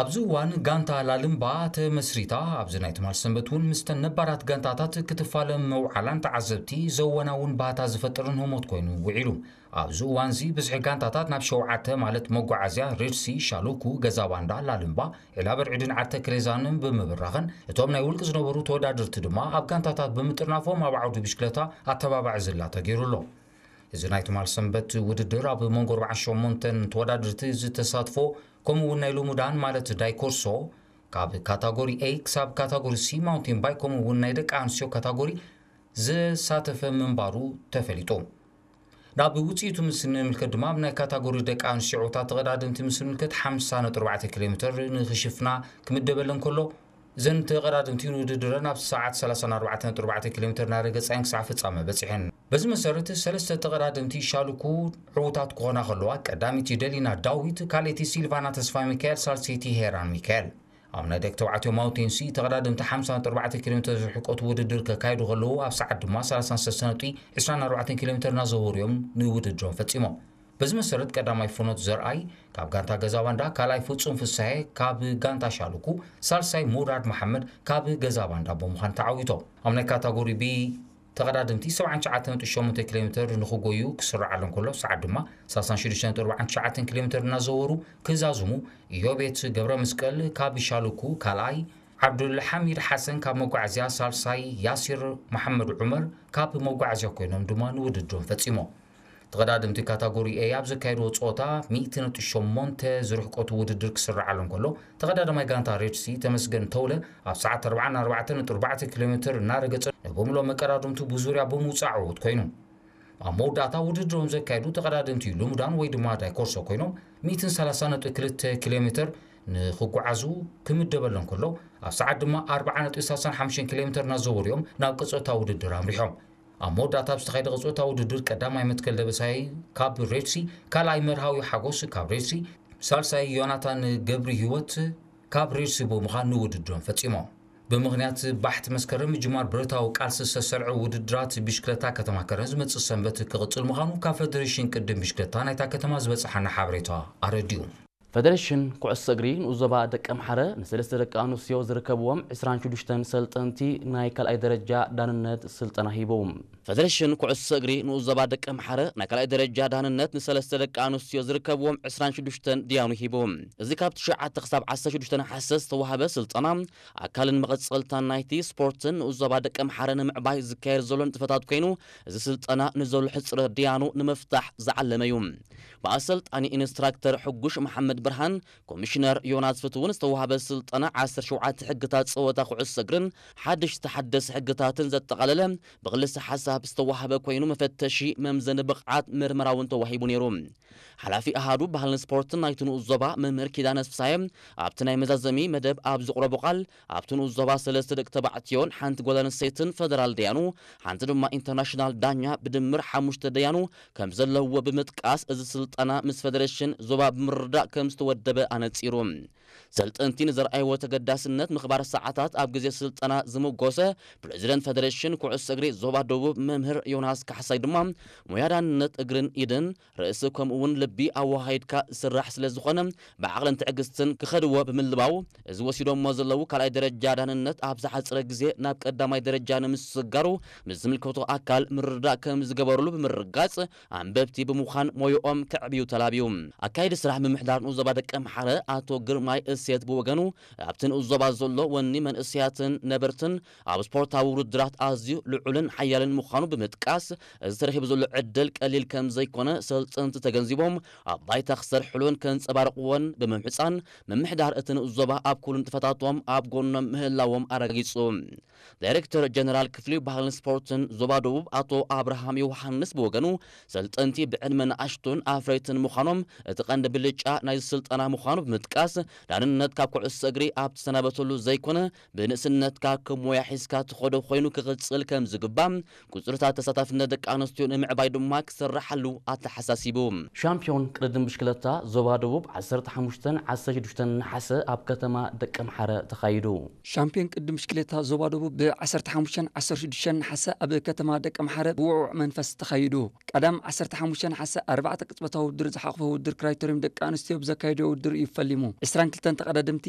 ኣብዚ እዋን ጋንታ ላልምባ ተመስሪታ፣ ኣብዚ ናይ ትማል ሰንበት እውን ምስተን ነባራት ጋንታታት ክትፋለም ምውዓላን ተዓዘብቲ ዘወናውን ባህታ ዝፈጥርን ህሞት ኮይኑ ውዒሉ። ኣብዚ እዋን እዚ ብዝሒ ጋንታታት ናብ ሸውዓተ ማለት መጓዓዝያ፣ ሬድሲ፣ ሻሉኩ፣ ገዛ ባንዳ፣ ላልምባ፣ ዒላ በርዒድን ዓርተ ክሬዛንን ብምብራኽን፣ እቶም ናይ ውልቂ ዝነበሩ ተወዳደርቲ ድማ ኣብ ጋንታታት ብምጥርናፎም ኣብ ዓውዲ ብሽክለታ ኣተባባዒ ዝላ ተገይሩ ኣሎ። እዚ ናይ ትማል ሰንበት ውድድር ኣብ መንጎ ኣርባዓን ሸሞንተን ተወዳደርቲ ዝተሳትፎ፣ ከምኡ እውን ናይ ልሙዳን ማለት ዳይኮርሶ ካብ ካታጎሪ ኤ ክሳብ ካታጎሪ ሲ ማውንቴን ባይክ ከምኡ እውን ናይ ደቂ ኣንስትዮ ካታጎሪ ዘሳተፈ ምንባሩ ተፈሊጡ። ናብ ውፅኢቱ ምስ ንምልከት ድማ ኣብ ናይ ካታጎሪ ደቂ ኣንስትዮ ዕውታት ተቐዳደምቲ ምስ ንምልከት ሓምሳ ነጥቢ ኣርባዕተ ኪሎ ሜትር ንኽሽፍና ክምደበለን ከሎ፣ እዘን ተቐዳደምቲ ንውድድረን ኣብ ሰዓት ሰላሳን ኣርባዕተን ነጥቢ ኣርባዕተ ኪሎ ሜትር እናረገፃ እየን ክሳዕ ፍፃመ በፂሐን። በዚ መሰረት ሰለስተ ተቐዳደምቲ ሻልኩ ዕዉታት ክኾና ከለዋ፣ ቀዳመይቲ ደሊና ዳዊት፣ ካልኣይቲ ሲልቫና ተስፋ ሚካኤል፣ ሳልሰይቲ ሄራን ሚካኤል። ኣብ ናይ ደቂ ተባዕትዮ ማውንቴን ሲ ተቐዳደምቲ ሓምሳ ነጥቢ ኣርባዕተ ኪሎ ሜትር ዝርሕቀቱ ውድድር ከካይዱ ከለዉ፣ ኣብ ሰዓት ድማ ሰላሳን ሰለስተን ነጥቢ ዕስራን ኣርባዕተን ኪሎ ሜትር እናዘወሩ እዮም ንውድድሮም ፈጺሞም። በዚ መሰረት ቀዳማይ ፍኖት ዘርኣይ ካብ ጋንታ ገዛ ባንዳ፣ ካልኣይ ፍጹም ፍስሐ ካብ ጋንታ ሻልኩ፣ ሳልሳይ ሙራድ መሓመድ ካብ ገዛ ባንዳ ብምዃን ተዓዊቶም። ኣብ ናይ ካታጎሪ ቢ ተቐዳደምቲ ሰብዓን ትሽዓተን ነጥቢ ሸሞንተ ኪሎ ሜትር ንኽጎዩ ክስርዓሎም ከሎ፣ ሰዓት ድማ ሰላሳን ሽዱሽተን ነጥቢ ኣርባዓን ትሽዓተን ኪሎ ሜትር እናዘወሩ ክዛዝሙ፣ ኢዮቤት ገብረ መስቀል ካብ ሻልኩ ካልኣይ፣ ዓብዱልሓሚድ ሓሰን ካብ መጓዓዝያ ሳልሳይ፣ ያሲር መሓመድ ዑመር ካብ መጓዓዝያ ኮይኖም ድማ ንውድድሮም ፈጺሞም። ተቐዳደምቲ ካታጎሪ ኤ ኣብ ዘካየድዎ ጸወታ ሚእቲ ነጥቢ ሸሞንተ ዝርሕቀቱ ውድድር ክስርዓሎም ከሎ፣ ተቐዳዳማይ ጋንታ ሬድሲ ተመስገን ተውለ ኣብ ሰዓት ኣርባዓን ኣርባዕተን ነጥቢ ኣርባዕተ ኪሎ ሜትር እናረገጸ፣ ንብምሎ መቀዳድምቱ ብዙርያ ብምውጻእ ዕዉት ኮይኑ። ኣብ መወዳእታ ውድድሮም ዘካየዱ ተቐዳደምቲ ልሙዳን ወይ ድማ ዳይኮርሶ ኮይኖም፣ ሚእትን ሰላሳን ነጥቢ ክልተ ኪሎ ሜትር ንኽጓዓዙ ክምደበሎም ከሎ፣ ኣብ ሰዓት ድማ ኣርብዓ ነጥቢ ሰላሳን ሓሙሽተን ኪሎ ሜትር እናዘወሩ እዮም ናብ ቀጸልታ ውድድር ኣምሪሖም። ኣብ መወዳእታ ኣብ ዝተኻየደ ቀጸልታ ውድድር ቀዳማይ መትከል ደበሳይ ካብ ሬድሲ፣ ካልኣይ መርሃዊ ሓጎስ ካብ ሬድሲ፣ ሳልሳይ ዮናታን ገብሪ ህይወት ካብ ሬድሲ ብምዃን ንውድድሮም ፈጺሞም። ብምኽንያት ባሕቲ መስከረም ምጅማር ብረታዊ ቃልሲ ዝተሰርዐ ውድድራት ብሽክለታ ከተማ ከረን ዝመጽእ ሰንበት ክቕጽል ምዃኑ ካብ ፈደሬሽን ቅድም ብሽክለታ ናይታ ከተማ ዝበጽሓና ሓበሬታ ኣረዲኡ። ፈደሬሽን ኩዕሶ እግሪ ንኡስ ዞባ ደቂ ኣምሓረ ንሰለስተ ደቂ ኣንስትዮ ዝርከብዎም ዕስራን ሽዱሽተን ሰልጠንቲ ናይ ካልኣይ ደረጃ ዳንነት ስልጠና ሂቡ። ፈደሬሽን ኩዕሶ እግሪ ንኡስ ዞባ ደቂ ኣምሓረ ናይ ካልኣይ ደረጃ ዳንነት ንሰለስተ ደቂ ኣንስትዮ ዝርከብዎም ዕስራን ሽዱሽተን ድያኑ ሂቡ። እዚ ካብ ትሽዓተ ክሳብ ዓሰርተ ሽዱሽተ ነሓሰ ዝተዋህበ ስልጠና ኣካልን መቐጸልታን ናይቲ ስፖርትን ንኡስ ዞባ ደቂ ኣምሓረ ንምዕባይ ዝካየድ ዘሎ ንጥፈታት ኮይኑ፣ እዚ ስልጠና ንዘሎ ሕጽረት ድያኑ ንምፍታሕ ዝዓለመ እዩ። ብኣሰልጣኒ ኢንስትራክተር ሕጉሽ መሓመድ ብርሃን፣ ኮሚሽነር ዮናስ ፍትውን ዝተዋህበ ስልጠና ዓሰርተ ሸውዓተ ሕግታት ጸወታ ኩዕሶ እግርን ሓድሽ ዝተሓደሰ ሕግታትን ዘጠቓለለ ብክልሰ ሓሳብ ዝተዋህበ ኮይኑ፣ መፈተሺ መምዘኒ ብቕዓት ምርመራ እውን ተዋሂቡ ነይሩ። ሓላፊ ኣሃዱ ባህልን ስፖርትን ናይቲ ንኡስ ዞባ መምህር ኪዳነ ፍሳየ ኣብቲ ናይ መዛዘሚ መደብ ኣብ ዘቕረቦ ቃል፣ ኣብቲ ንኡስ ዞባ ሰለስተ ደቂ ተባዕትዮን ሓንቲ ጓል ኣንስተይትን ፈደራል ደያኑ፣ ሓንቲ ድማ ኢንተርናሽናል ዳኛ ብድምር ሓሙሽተ ደያኑ ከም ዘለውዎ ብምጥቃስ፣ እዚ ስልጠና ምስ ፈደሬሽን ዞባ ብምርዳእ ከም ዝተወደበ ኣነጺሩ። ሰልጠንቲ ንዘርኣይዎ ተገዳስነት ምኽባር ሰዓታት ኣብ ግዜ ስልጠና ዝምጎሰ ፕሬዚደንት ፈደሬሽን ኩዕሶ እግሪ ዞባ ደቡብ መምህር ዮናስ ካሕሳይ ድማ፣ ሞያ ዳንነት እግርን ኢድን ርእሲ ከምኡ እውን ልቢ ኣወሃሂድካ ዝስራሕ ስለ ዝኾነ፣ ብዓቕልን ትዕግስትን ክኸድዎ ብምልባው፣ እዚ ወሲዶሞ ዘለዉ ካልኣይ ደረጃ ዳንነት ኣብ ዝሓጽረ ግዜ ናብ ቀዳማይ ደረጃ ንምስግጋሩ ምስ ዝምልከቶ ኣካል ምርድዳእ ከም ዝገበርሉ ብምርጋጽ፣ ኣንበብቲ ብምዃን ሞያኦም ከዕብዩ ተላብዩ። ኣካየዲ ስራሕ ምምሕዳር ንኡስ ዞባ ደቂ ኣምሓረ ኣቶ ግርማይ እሴት ብወገኑ፣ ኣብቲ ንኡስ ዞባ ዘሎ ወኒ መንእሰያትን ነበርትን ኣብ ስፖርታዊ ውድድራት ኣዝዩ ልዑልን ሓያልን ምዃኑ ብምጥቃስ፣ እዚ ተረኺቡ ዘሎ ዕድል ቀሊል ከም ዘይኮነ ሰልጠንቲ ተገንዚቦም፣ ኣብ ባይታ ክሰርሕሉን ከንጸባርቕዎን ብምምሕጻን፣ ምምሕዳር እቲ ንኡስ ዞባ ኣብ ኩሉ ንጥፈታቶም ኣብ ጎኖም ምህላዎም ኣረጋጊጹ። ዳይሬክተር ጀነራል ክፍሊ ባህልን ስፖርትን ዞባ ደቡብ ኣቶ ኣብርሃም ዮሃንስ ብወገኑ፣ ሰልጠንቲ ብዕድመ ንኣሽቱን ኣፍረይትን ምዃኖም እቲ ቀንዲ ብልጫ ናይዚ ስልጠና ምዃኑ ብምጥቃስ፣ ዳንነት ካብ ኩዕሶ እግሪ ኣብ ትሰናበተሉ ዘይኮነ፣ ብንእስነትካ ከም ሞያ ሒዝካ ትኸዶ ኮይኑ ክቕጽል ከም ዝግባእ፣ ቁጽርታት ተሳታፍነት ደቂ ኣንስትዮ ንምዕባይ ድማ ክስራሓሉ ኣተሓሳሲቡ። ሻምፒዮን ቅድድም ብሽክለታ ዞባ ደቡብ ዓሰርተ ሓሙሽተን ዓሰርተ ሽዱሽተን ነሓሰ ኣብ ከተማ ደቂ ኣምሓረ ተኻይዱ። ሻምፒዮን ቅድድም ብሽክሌታ ዞባ ደቡብ ብ ዓሰርተ ሓሙሽተን ዓሰርተ ሽዱሽተን ነሓሰ ኣብ ከተማ ደቂ ኣምሓረ ብውዕዉዕ መንፈስ ተኻይዱ። ቀዳም ዓሰርተ ሓሙሽተ ነሓሰ ኣርባዕተ ቅጽበታዊ ውድድር ዝሓቑፈ ውድድር ክራይተሪየም ደቂ ኣንስትዮ ብዘካየድዮ ውድድር እዩ ፈሊሙ። ዕስራን ክልተን ተቐዳደምቲ